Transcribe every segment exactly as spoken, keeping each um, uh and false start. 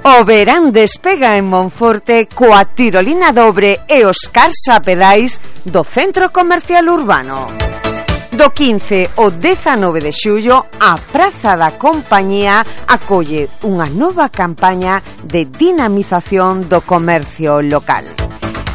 O verán despega en Monforte coa tirolina dobre e os carsa pedais do Centro Comercial Urbano. Do quince ao dezanove de xullo, a Praza da Compañía acolle unha nova campaña de dinamización do comercio local.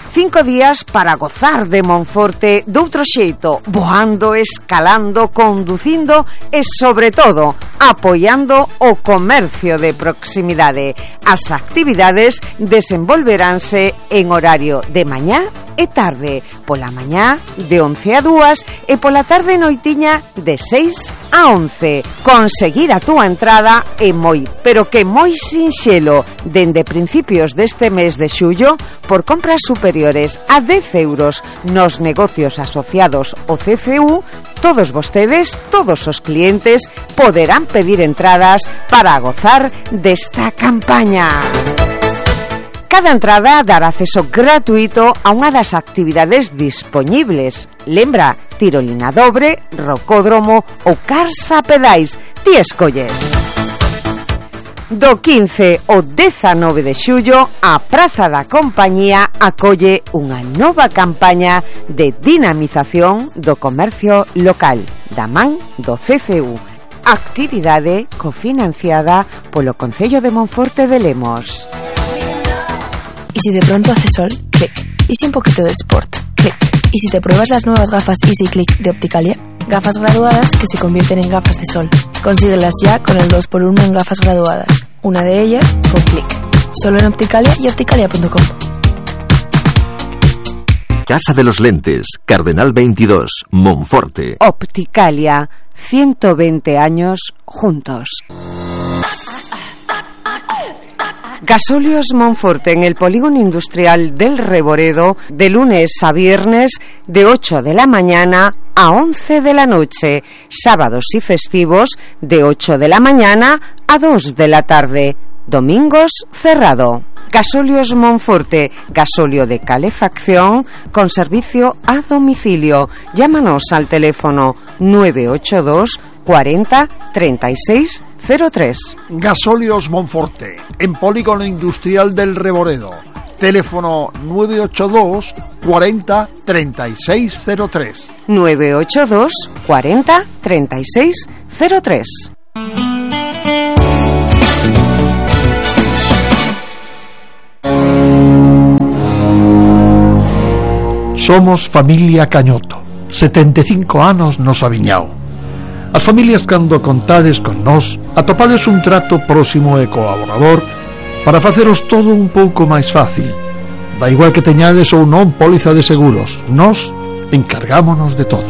Cinco días para gozar de Monforte doutro xeito, voando, escalando, conducindo e, sobre todo, apoiando o comercio de proximidade. As actividades desenvolveránse en horario de mañá e tarde, pola mañá de once a dúas e pola tarde noitiña de seis a once. Conseguir a túa entrada é moi, pero que moi sinxelo, dende principios deste mes de xullo, por compras superiores a dez euros nos negocios asociados ao C C U, todos vostedes, todos os clientes, poderán pedir entradas para gozar desta campaña. Cada entrada dará acceso gratuito a unha das actividades dispoñibles. Lembra, tirolina dobre, rocódromo ou carsa pedais. Ti escolles. Do quince ao dezanove de xullo, a Praza da Compañía acolle unha nova campaña de dinamización do comercio local, da man do C C U. Actividade cofinanciada polo Concello de Monforte de Lemos. ¿Y si de pronto hace sol? Clic. ¿Y si un poquito de sport? Clic. ¿Y si te pruebas las nuevas gafas Easy Click de Opticalia? Gafas graduadas que se convierten en gafas de sol. Consíguelas ya con el dos por uno en gafas graduadas. Una de ellas con Clic. Solo en Opticalia y opticalia punto com. Casa de los Lentes, Cardenal veintidós, Monforte. Opticalia, ciento veinte años juntos. Gasóleos Monforte en el polígono industrial del Reboredo, de lunes a viernes, de ocho de la mañana a once de la noche, sábados y festivos de ocho de la mañana a dos de la tarde, domingos cerrado. Gasóleos Monforte, gasóleo de calefacción con servicio a domicilio. Llámanos al teléfono nueve ocho dos cuarenta treinta y seis cero tres. Gasóleos Monforte, en polígono industrial del Reboredo. Teléfono nueve ocho dos cuarenta treinta y seis cero tres. nueve ocho dos cuarenta treinta y seis cero tres. Somos familia Cañoto, setenta e cinco anos nos aviñao. As familias, cando contades con nós, atopades un trato próximo e colaborador para faceros todo un pouco máis fácil. Da igual que teñades ou non póliza de seguros, nós encargámonos de todo.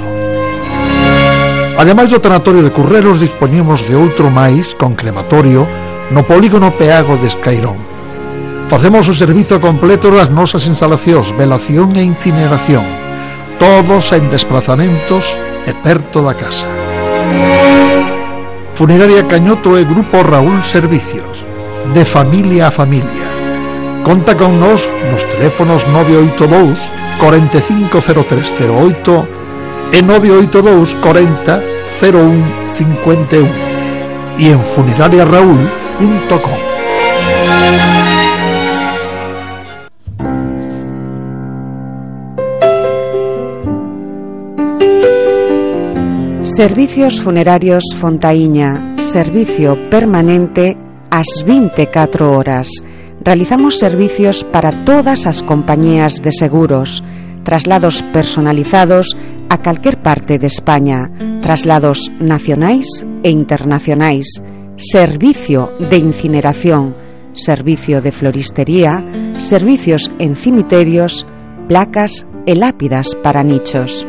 Ademais do tanatorio de Curreros, dispoñemos de outro máis con crematorio no polígono Peago de Escairón. Facemos o servizo completo das nosas instalacións, velación e incineración, todos en desplazamentos e perto da casa. Funeraria Cañoto e Grupo Raúl Servicios, de familia a familia. Conta con nos nos teléfonos nove oito dous cuarenta e cinco cero tres cero oito e nove oito dous cuarenta cero un cincuenta e un e en funeraria raúl punto com. Servicios Funerarios Fontaíña, servicio permanente ás vinte e catro horas. Realizamos servicios para todas as compañías de seguros, traslados personalizados a calquer parte de España, traslados nacionais e internacionais, servicio de incineración, servicio de floristería, servicios en cimiterios, placas e lápidas para nichos.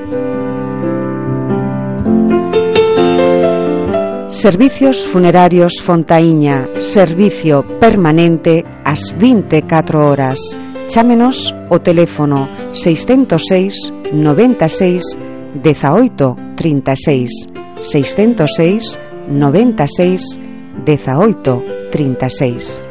Servicios Funerarios Fontaíña, servicio permanente ás vinte e catro horas. Chámenos o teléfono seiscentos seis noventa e seis dezaoito trinta e seis, seiscentos seis noventa e seis dezaoito trinta e seis.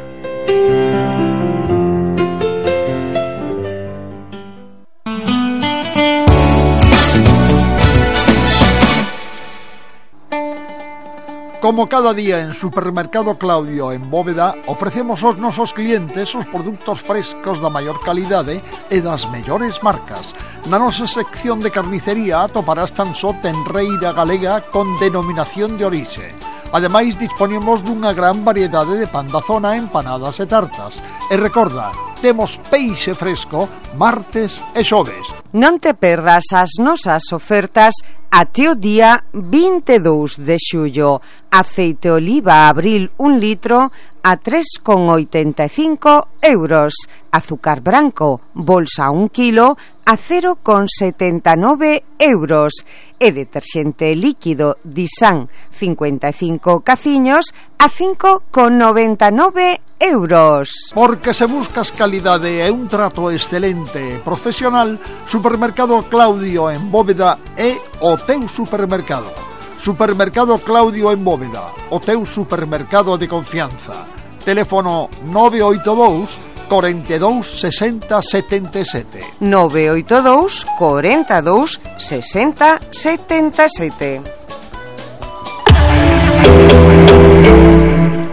Como cada día en Supermercado Claudio en Bóveda, ofrecemos aos nosos clientes os produtos frescos da maior calidade e das mellores marcas. Na nosa sección de carnicería atoparás tan só tenreira galega con denominación de orixe. Ademais, disponemos dunha gran variedade de pan da zona, empanadas e tartas. E recorda, temos peixe fresco martes e xoves. Non te perdas as nosas ofertas até o día vinte e dous de xullo. Aceite oliva abril un litro a tres con oitenta e cinco euros. Azúcar branco bolsa un kilo a cero con setenta e nove euros. E deterxente líquido Disan cincuenta e cinco caciños a cinco con noventa e nove euros. Porque se buscas calidade e un trato excelente e profesional, Supermercado Claudio en Bóveda é o teu supermercado. Supermercado Claudio en Bóveda, o teu supermercado de confianza. Teléfono nove oito dous, cuarenta y dos, sesenta, setenta y siete. nove oito dous, cuarenta y dos, sesenta, setenta y siete.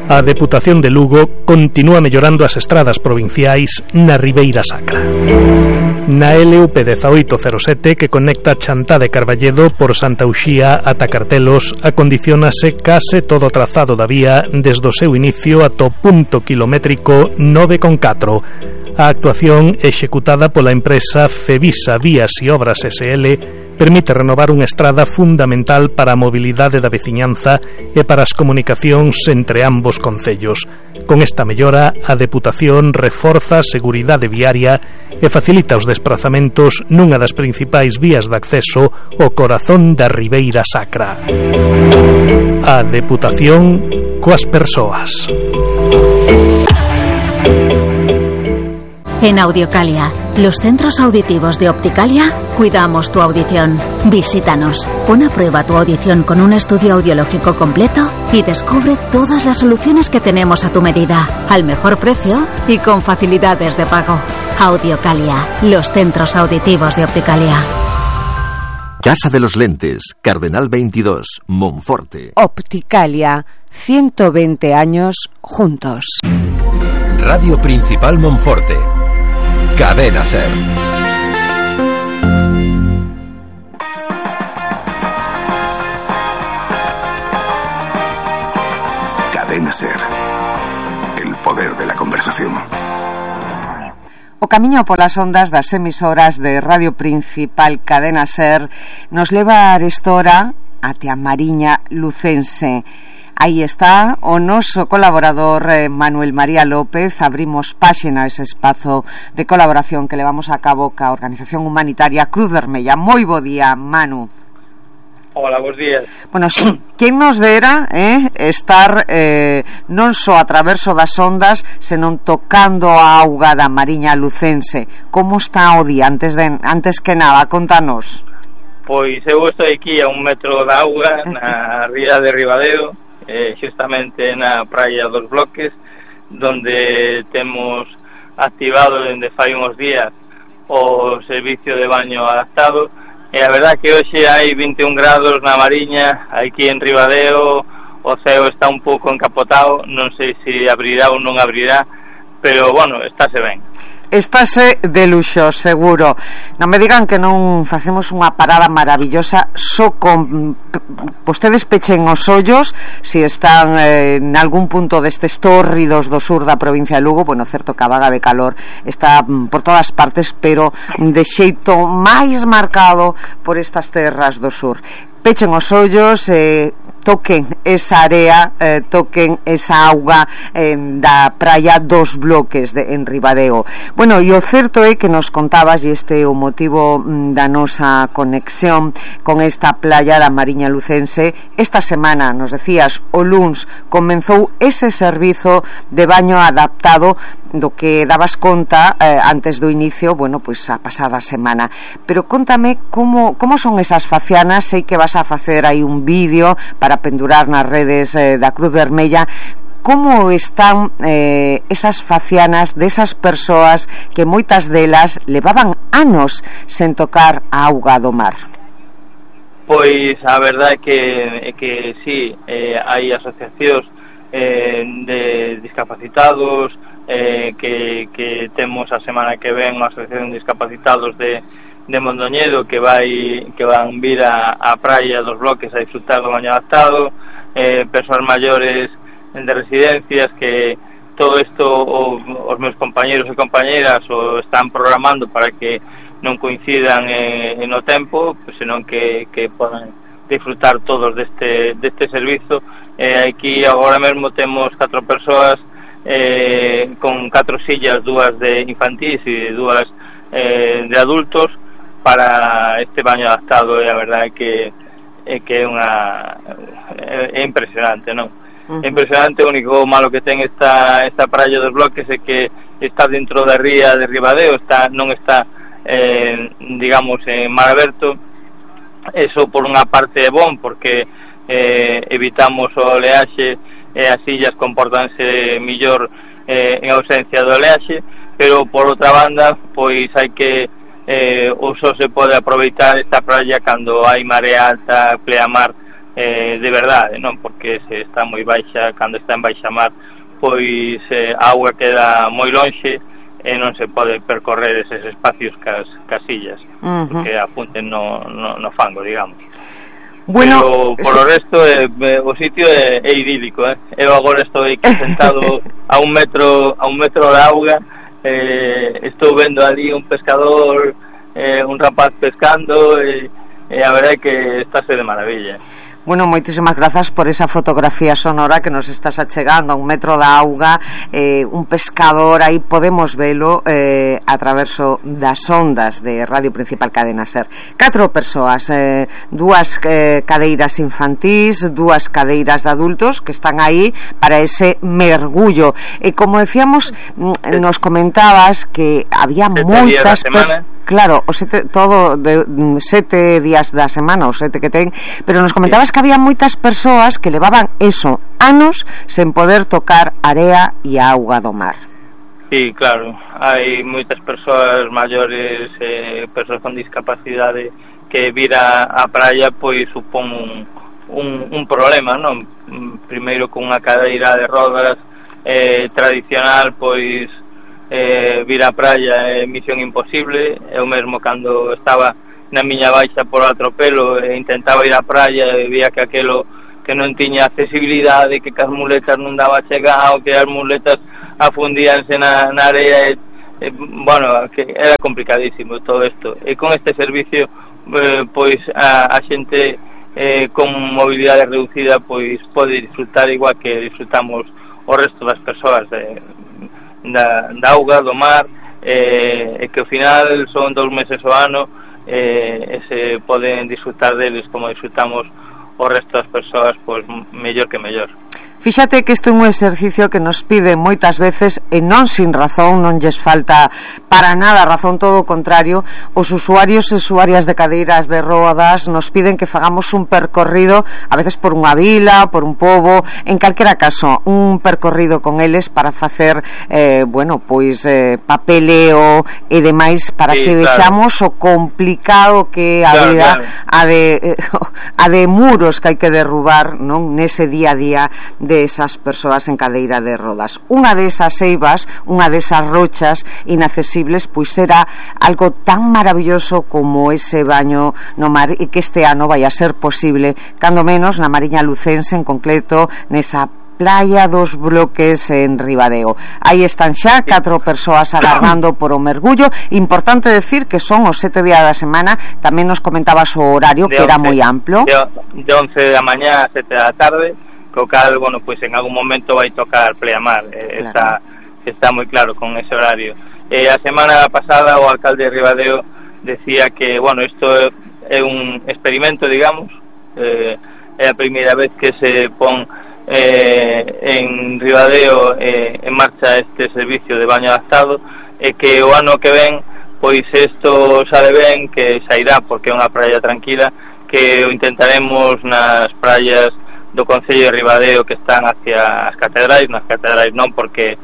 A Deputación de Lugo continúa mellorando as estradas provinciais na Ribeira Sacra. Na L U P dezaoito cero sete, que conecta Chantá de Carballedo por Santa Uxía ata Cartelos, acondicionase case todo o trazado da vía desde o seu inicio ata o punto kilométrico nove con catro. A actuación executada pola empresa Cevisa Vías e Obras S L permite renovar unha estrada fundamental para a mobilidade da veciñanza e para as comunicacións entre ambos concellos. Con esta mellora, a Deputación reforza a seguridade viaria e facilita os desprazamentos nunha das principais vías de acceso ao corazón da Ribeira Sacra. A Deputación coas persoas. En Audiocalia, los centros auditivos de Opticalia, cuidamos tu audición. Visítanos, pon a prueba tu audición con un estudio audiológico completo y descubre todas las soluciones que tenemos a tu medida, al mejor precio y con facilidades de pago. Audiocalia, los centros auditivos de Opticalia. Casa de los Lentes, Cardenal veintidós, Monforte. Opticalia, ciento veinte años juntos. Radio Principal Monforte. Cadena Ser. Cadena Ser. El poder de la conversación. O camiño polas ondas das emisoras de Radio Principal Cadena Ser nos leva a arestora até a Mariña Lucense. Aí está o noso colaborador eh, Manuel María López. Abrimos páxina ese espazo de colaboración que levamos a cabo ca organización humanitaria Cruz Vermella. Moi bo día, Manu. Hola, bons días. Bueno, si, quen nos dera eh, estar eh, non só a traverso das ondas, senón tocando a auga da Mariña Lucense. Como está o día? Antes, de, antes que nada, contanos. Pois eu estou aquí a un metro da auga na ría de Ribadeo, eh, xustamente na praia dos Bloques, donde temos activado dende fai uns días o servicio de baño adaptado, e a verdad que hoxe hai vinte e un grados na Mariña. Aquí en Ribadeo o ceo está un pouco encapotado, non sei se abrirá ou non abrirá, pero bueno, estáse ben. Estáse de luxo, seguro. Non me digan que non facemos unha parada maravillosa só con vostedes pechen os ollos se están eh, en algún punto destes tórridos do sur da provincia de Lugo. Bueno, certo que a vaga de calor está por todas partes, pero de xeito máis marcado por estas terras do sur. Pechen os ollos, eh, toquen esa area, eh, toquen esa auga eh, da praia dos Bloques de, en Ribadeo. Bueno, e o certo é que nos contabas, e este é o motivo da nosa conexión con esta playa da Mariña Lucense. Esta semana, nos decías, o luns comenzou ese servizo de baño adaptado do que dabas conta eh, antes do inicio, bueno, pois a pasada semana. Pero contame como, como son esas facianas. Sei que vas a facer aí un vídeo para pendurar nas redes eh, da Cruz Vermella. Como están eh, esas facianas desas persoas que moitas delas levaban anos sen tocar a auga do mar? pois a verdade é que, é que sí, eh, hai asociacións eh, de discapacitados, eh, que, que temos a semana que ven unha asociación de discapacitados de, de Mondoñedo que vai que van vir a, a praia dos bloques a disfrutar do baño adaptado, eh, persoas maiores de residencias que todo isto o, os meus compañeros e compañeras o están programando para que non coincidan eh, no tempo, pues, senón que, que podan disfrutar todos deste, deste servizo. Eh, aquí agora mesmo temos catro persoas eh, con catro sillas, dúas de infantís e dúas eh, de adultos para este baño adaptado, e a verdade é que é que é unha é, é impresionante, non? Uh-huh. É impresionante. O único malo que ten esta esta praia dos bloques é que está dentro da ría de Ribadeo, está non está eh, digamos en mar aberto. Eso por unha parte é bon porque eh, evitamos o oleaxe e as illas comportanse millor eh, en ausencia do oleaxe, pero por outra banda pois hai que eh, o só se pode aproveitar esta praia cando hai marea alta, pleamar eh, de verdade, non? Porque se está moi baixa, cando está en baixa mar pois eh, a auga queda moi lonxe e non se pode percorrer eses espacios cas, casillas, uh-huh. porque apunten no, no, no fango, digamos. Bueno, pero por sí. O resto eh, o sitio é, é idílico, eh? Eu agora estou aquí sentado a un metro a un metro de auga, eh, estou vendo ali un pescador, eh, un rapaz pescando, e eh, eh, a verdade é que estáse de maravilla. Bueno, moitísimas grazas por esa fotografía sonora que nos estás achegando a un metro da auga, eh, un pescador, aí podemos velo eh, a traverso das ondas de Radio Principal Cadena Ser. Catro persoas, eh, dúas eh, cadeiras infantís, dúas cadeiras de adultos que están aí para ese mergullo. E como decíamos, nos comentabas que había moitas persoas. Claro, o sete, todo de sete días da semana, o sete que ten, pero nos comentabas que había moitas persoas que levaban eso, anos, sen poder tocar area e auga do mar. Sí, claro, hai moitas persoas maiores, eh, persoas con discapacidade que vir a, a praia pois supón un, un, un problema, non? Primeiro con unha cadeira de rodas eh, tradicional, pois Eh, vir á praia é misión imposible. Eu mesmo cando estaba na miña baixa por atropelo e intentaba ir á praia e vía que aquelo que non tiña accesibilidade, que as muletas non daba chegado, que as muletas afundíanse na, na area e, e, bueno, que era complicadísimo todo isto. E con este servicio eh, pois a, a xente eh, con mobilidade reducida pois pode disfrutar igual que disfrutamos o resto das persoas de Da, da auga, do mar, eh, e que ao final son dous meses ao ano eh, e se poden disfrutar deles como disfrutamos o resto das persoas, pois mellor que mellor. Fíxate que isto é un exercicio que nos pide moitas veces e non sin razón, non lles falta para nada razón, todo o contrario, os usuarios e usuarias de cadeiras de rodas nos piden que fagamos un percorrido, a veces por unha vila, por un pobo, en calquera caso, un percorrido con eles para facer, eh, bueno, pois eh, papeleo e demais para sí, que vexamos claro. O complicado que a claro, vida claro. A, de, eh, a de muros que hai que derrubar, non, nese día a día de esas persoas en cadeira de rodas. Unha desas eivas, unha desas rochas inaccesibles, pois era algo tan maravilloso como ese baño no mar, e que este ano vai a ser posible, cando menos na Mariña Lucense, en concreto nesa Playa dos Bloques en Ribadeo. Aí están xa catro persoas agardando por o mergullo. Importante decir que son os sete días da semana. Tamén nos comentabas o horario, que era moi amplo, de once da mañá a sete da tarde, co cal, bueno, pois en algún momento vai tocar pleamar, eh, claro. está, está moi claro con ese horario. Eh, a semana pasada o alcalde de Ribadeo decía que, bueno, isto é un experimento, digamos, eh, é a primeira vez que se pon eh, en Ribadeo eh, en marcha este servicio de baño adaptado, e que o ano que ven, pois isto sale ben, que sairá, porque é unha praia tranquila, que o intentaremos nas praias do Concello de Ribadeo que están hacia as catedrais, nas catedrais non porque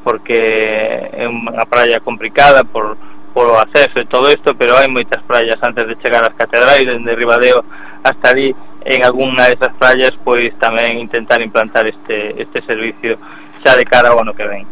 porque é unha praia complicada por, por o acceso e todo isto, pero hai moitas praias antes de chegar ás catedrais, dende Ribadeo hasta ali en algunha desas praias, pois tamén intentar implantar este, este servicio xa de cara ao ano que ven.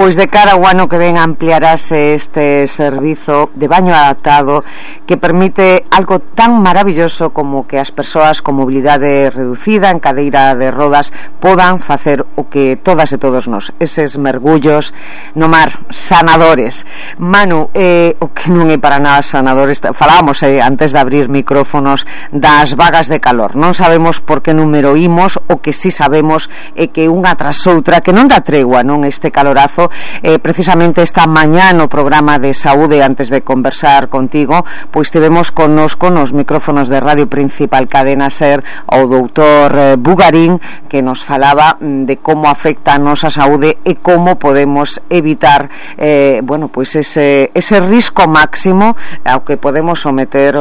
Pois de cara ao ano que ven ampliarase este servizo de baño adaptado que permite algo tan maravilloso como que as persoas con mobilidade reducida en cadeira de rodas podan facer o que todas e todos nós, eses mergullos no mar sanadores. Manu, eh, o que non é para nada sanadores, falábamos eh, antes de abrir micrófonos das vagas de calor, non sabemos por que número imos, o que si sabemos é que unha tras outra, que non dá tregua, non, este calorazo. Eh, precisamente esta mañá no programa de saúde, antes de conversar contigo, pois tivemos connosco nos micrófonos de Radio Principal Cadena Ser o doutor eh, Bugarín, que nos falaba de como afecta a nosa saúde e como podemos evitar eh, bueno, pois ese, ese risco máximo ao que podemos someter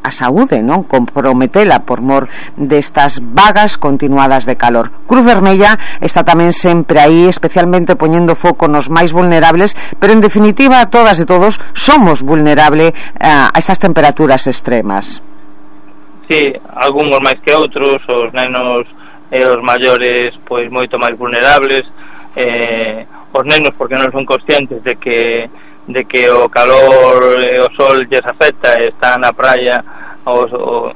a saúde, non? Comprometela por mor destas vagas continuadas de calor. Cruz Vermella está tamén sempre aí, especialmente poñendo foco nos máis vulnerables, pero en definitiva todas e todos somos vulnerables a estas temperaturas extremas. Sí, algúns máis que outros, os nenos e os maiores pois moito máis vulnerables, eh, os nenos porque non son conscientes de que de que o calor e o sol lles afecta, están na praia o, o,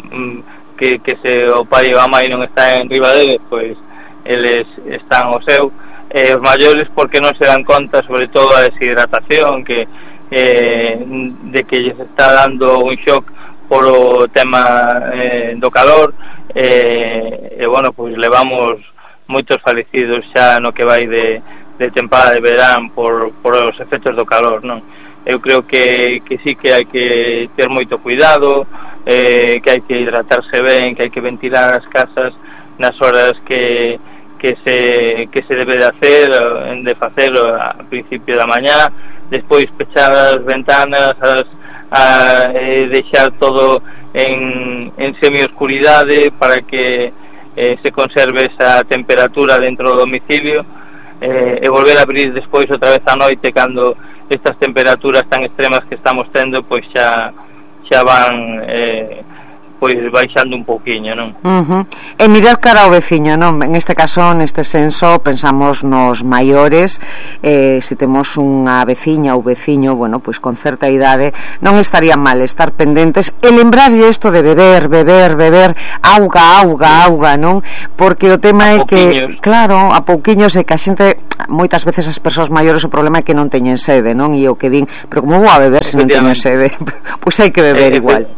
que, que se o pai ou a mãe non está en riba deles, pois eles están ao seu, e os maiores porque non se dan conta, sobre todo a deshidratación que eh, de que lles está dando un shock por o tema eh, do calor, eh, e bueno, pois levamos moitos falecidos xa no que vai de de tempada de verán por, por os efectos do calor, non? Eu creo que, que sí que hai que ter moito cuidado, eh, que hai que hidratarse ben, que hai que ventilar as casas nas horas que, que, se, que se debe de hacer, de facelo a principio da mañá, despois pechar as ventanas, as, a, eh, deixar todo en, en semi-oscuridade para que eh, se conserve esa temperatura dentro do domicilio, Eh, e volver a abrir despois outra vez a noite cando estas temperaturas tan extremas que estamos tendo pois xa xa van eh, pois baixando un pouquiño, non? Uh-huh. E mirar cara ao veciño, non? En este caso, neste senso, pensamos nos maiores, eh, se temos unha veciña ou veciño, bueno, pois con certa idade, non estaría mal estar pendentes e lembrarlle isto de beber, beber, beber, auga, auga, auga, non? Porque o tema é que, claro, a pouquiños é que a xente, moitas veces as persoas maiores o problema é que non teñen sede, non? E o que din, pero como vou a beber se non teño sede? Pois hai que beber eh, igual.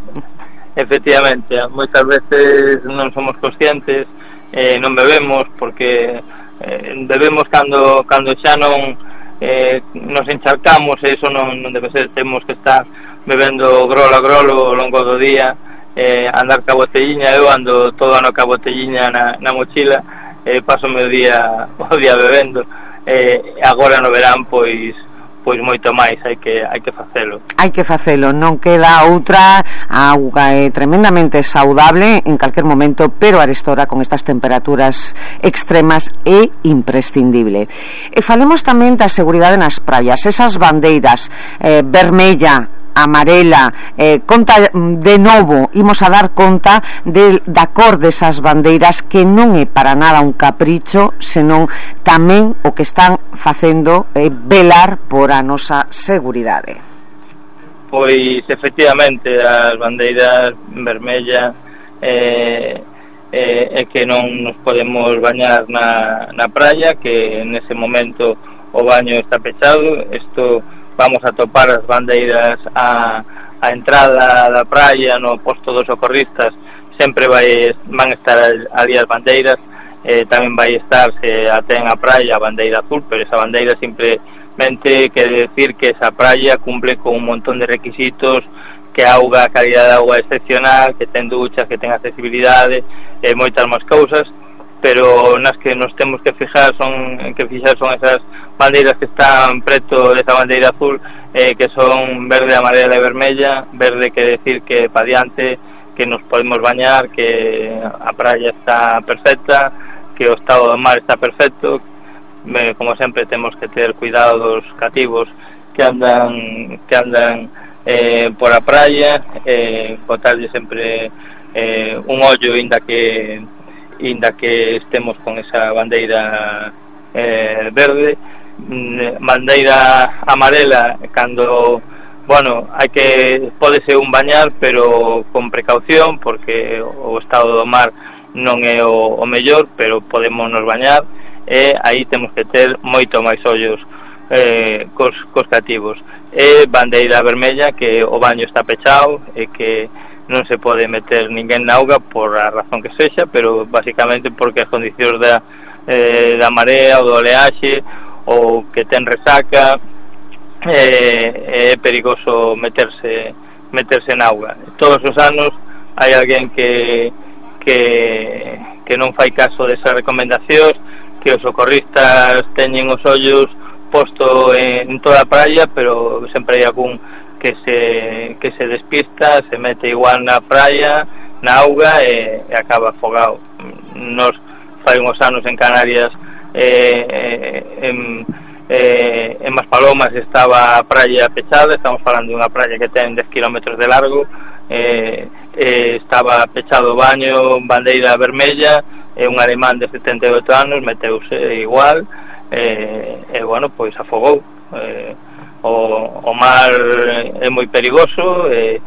Efectivamente, moitas veces non somos conscientes, eh, non bebemos porque eh, bebemos cando cando xa non eh, nos encharcamos, e iso non, non debe ser, temos que estar bebendo grolo a grolo ao longo do día, eh, andar ca botelliña. Eu ando todo ano ca botelliña na, na mochila, eh, paso o meu día o día bebendo, eh, agora no verán pois pois moito máis, hai que hai que facelo. Hai que facelo, non queda outra. A auga é tremendamente saudable en calquer momento, pero arestora con estas temperaturas extremas é imprescindible. E falemos tamén da seguridade nas praias, esas bandeiras eh, vermella, amarela, eh, conta de novo, imos a dar conta de, da cor desas bandeiras, que non é para nada un capricho, senón tamén o que están facendo é eh, velar por a nosa seguridade. Pois efectivamente as bandeiras vermella eh, eh, é que non nos podemos bañar na, na praia, que nese momento o baño está pechado. Isto vamos a topar as bandeiras a, a entrada da praia, no posto dos socorristas sempre vai, van estar ali as bandeiras, eh, tamén vai estar, se atén a praia, a bandeira azul, pero esa bandeira simplemente quere decir que esa praia cumple con un montón de requisitos, que a auga, a calidad de auga excepcional, que ten duchas, que ten accesibilidade e eh, moitas máis cousas, pero nas que nos temos que fijar son que fixar son esas bandeiras que están preto desa bandeira azul, eh, que son verde, amarela e vermella. Verde quere decir que pa diante, que nos podemos bañar, que a praia está perfecta, que o estado do mar está perfecto. Eh, como sempre temos que ter cuidado dos cativos que andan que andan eh, por a praia, eh, botarlle sempre eh, un ollo inda que inda que estemos con esa bandeira eh, verde. Bandeira amarela cando, bueno, hai que pode ser un bañar, pero con precaución, porque o estado do mar non é o, o mellor, pero podemos nos bañar, e aí temos que ter moito máis ollos eh, cos, cos cativos. E bandeira vermella, que o baño está pechado e que non se pode meter ninguén na auga por a razón que sexa, pero basicamente porque as condicións da, eh, da marea ou do oleaxe, ou que ten resaca, eh, é perigoso meterse meterse na auga. Todos os anos hai alguén que que que non fai caso desas recomendacións, que os socorristas teñen os ollos posto en toda a praia, pero sempre hai algún que se que se despista, se mete igual na praia, na auga, e, e acaba afogado. Nos fai uns anos en Canarias, eh, en, eh, en Maspalomas estaba a praia pechada, estamos falando de unha praia que ten dez kilómetros de largo, eh, eh, estaba pechado o baño, bandeira vermella, e un alemán de setenta e oito anos meteuse igual, eh, e bueno, pois afogou. eh, o, o mar é moi perigoso, e,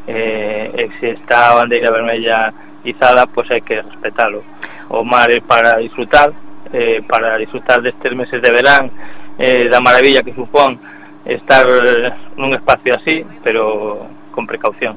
eh, e se está a bandeira vermella izada, pois hai que respetalo. O mar é para disfrutar, eh, para disfrutar destes meses de verán, eh, da maravilla que supón estar nun espacio así, pero con precaución.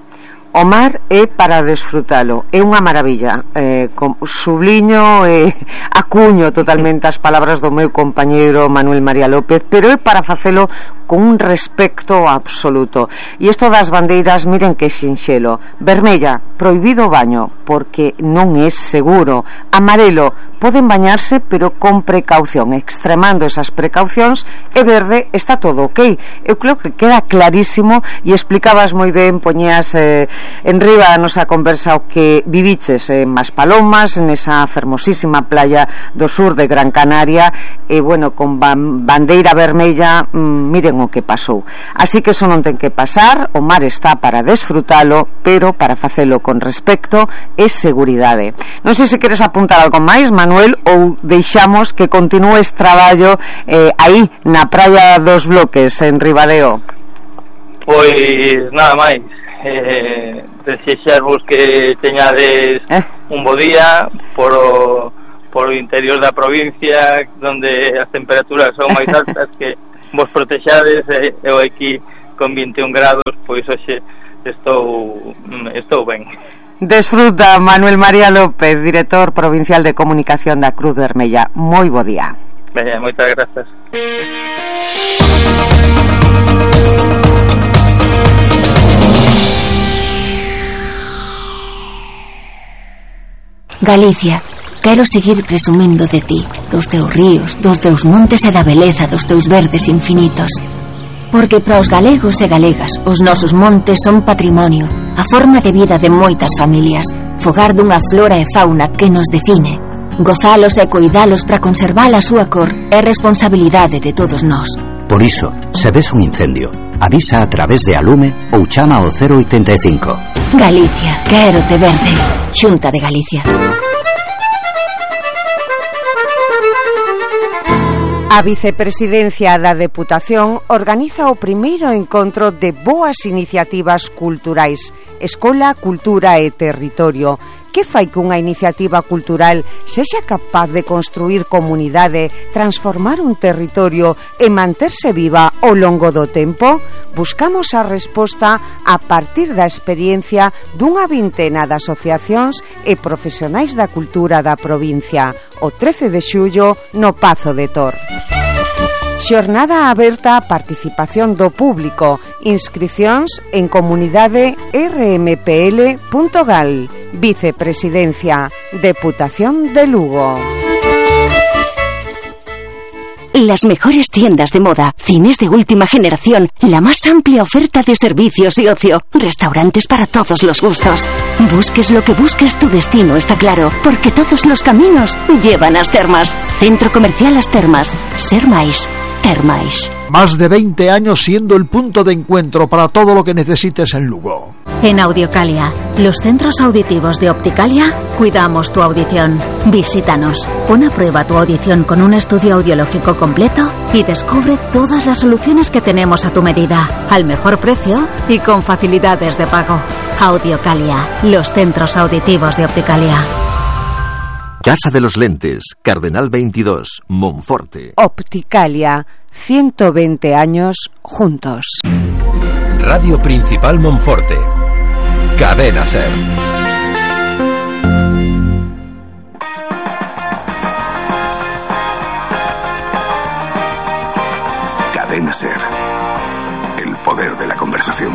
O mar é para desfrutalo, é unha maravilla, eh, com, subliño e eh, acuño totalmente as palabras do meu compañeiro Manuel María López, pero é para facelo con un respecto absoluto. E isto das bandeiras, miren que sinxelo: vermella, prohibido o baño porque non é seguro; amarelo, poden bañarse pero con precaución, extremando esas precaucións; e verde, está todo ok. Eu creo que queda clarísimo, e explicabas moi ben, poñías eh, en riba a nosa conversa o que viviches en Maspalomas, nesa fermosísima playa do sur de Gran Canaria, e bueno, con ban bandeira vermella, mmm, miren o que pasou. Así que eso non ten que pasar, o mar está para desfrutalo, pero para facelo con respecto e seguridade. Non sei se queres apuntar algo máis, Manuel, ou deixamos que continúes traballo eh, aí na praia dos Bloques, en Ribadeo. Pois nada máis, eh, desexarvos que teñades eh? un bo día por o, por o interior da provincia, onde as temperaturas son máis altas, que vos protexades. E eh, eu aquí con vinte e un grados, pois hoxe estou estou ben. Desfruta, Manuel María López, director provincial de comunicación da Cruz Vermella. Moi bo día. Ben, moitas grazas. Galicia, quero seguir presumindo de ti, dos teus ríos, dos teus montes e da beleza dos teus verdes infinitos. Porque para os galegos e galegas os nosos montes son patrimonio, a forma de vida de moitas familias, fogar dunha flora e fauna que nos define. Gozalos e coidalos para conservar a súa cor é responsabilidade de todos nós. Por iso, se ves un incendio, avisa a través de Alume ou chama ao cero oitenta e cinco. Galicia, quero te verde. Xunta de Galicia. A Vicepresidencia da Deputación organiza o primeiro encontro de boas iniciativas culturais, Escola, Cultura e Territorio. Que fai que unha iniciativa cultural sexa capaz de construir comunidade, transformar un territorio e manterse viva ao longo do tempo? Buscamos a resposta a partir da experiencia dunha vintena de asociacións e profesionais da cultura da provincia, o trece de xullo no Pazo de Tor. Xornada aberta a participación do público. Inscricións en comunidade r m p l punto gal. Vicepresidencia, Deputación de Lugo. Las mejores tiendas de moda, cines de última generación, la más amplia oferta de servicios y ocio, restaurantes para todos los gustos. Busques lo que busques, tu destino está claro, porque todos los caminos llevan a As Termas. Centro Comercial As Termas. Ser máis. Thermais. Más de veinte años siendo el punto de encuentro para todo lo que necesites en Lugo. En Audiocalia, los centros auditivos de Opticalia, cuidamos tu audición. Visítanos, pon a prueba tu audición con un estudio audiológico completo y descubre todas las soluciones que tenemos a tu medida, al mejor precio y con facilidades de pago. Audiocalia, los centros auditivos de Opticalia. Casa de los Lentes, Cardenal veintidós, Monforte. Opticalia, ciento veinte años juntos. Radio Principal Monforte. Cadena Ser. Cadena Ser. El poder de la conversación.